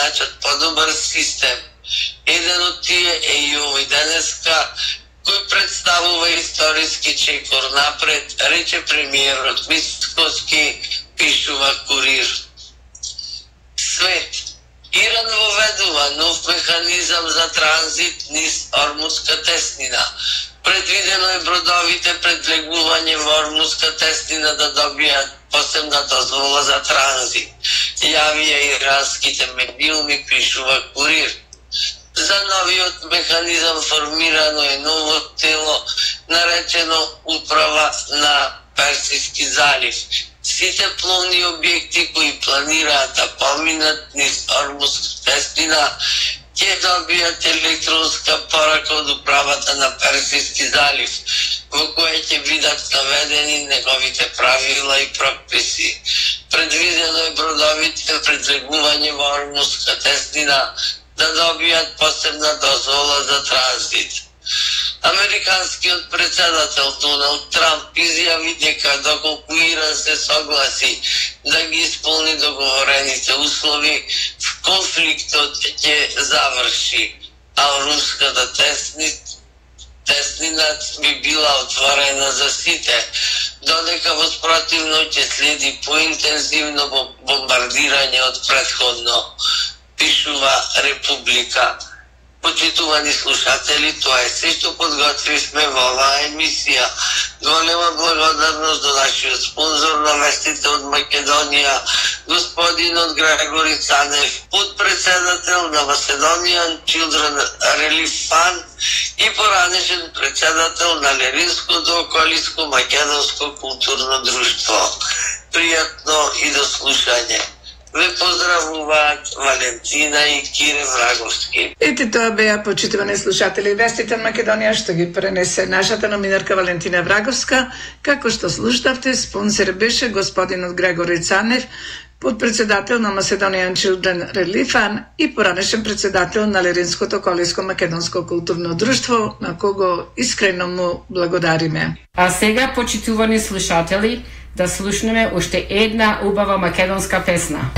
најдат подобар систем. Еден од тие е и овој денеска, кој представува историски чекор напред, рече премиерот Мицкоски, пишува Курир. Свет. Иран воведува нов механизам за транзит низ Ормузска теснина. Предвидено е бродовите пред легување во Ормузска теснина да добијат посебна дозвола за транзит. Јавија иранските медиуми, пишува Курир. За новиот механизам формирано е ново тело, наречено Управа на Персиски залив. Сите пловни објекти кои планираат да поминат низ Ормузска теснина ќе добијат електронска порака од Управата на Персиски залив, во која ќе бидат наведени неговите правила и прописи. Предвидено е бродовите пред легување во Ормузска теснина да добијат посебна дозвола за транзит. Американскиот председател Доналд Трамп изјави дека доколку Иран се согласи да ги исполни договорените услови, конфликтот ќе заврши, а руската теснина би била отворена за сите, додека воспротивно ќе следи поинтензивно бомбардирање од претходно, пишува Република. Почитувани слушатели, тоа е се што подготвивме во оваа емисија. Голема благодарност до нашиот спонзор на вестите од Македонија, господинот Грегори Цанев, подпредседател на Macedonian Children Relief Fund и поранешен председател на Леринското околиско македонско културно друштво. Пријатно и до слушање. Ве поздравуваат Валентина и Кире Враговски. Ете тоа беа, почитувани слушатели, вестите од Македонија што ги пренесе нашата номинарка Валентина Враговска. Како што слушавте, спонсор беше господинот Грегори Цанев, подпредседател на Macedonian Children Relief Fund и поранешен председател на Леринското околиско македонско културно друштво, на кого искрено му благодариме. А сега, почитувани слушатели, да слушнеме уште една убава македонска песна.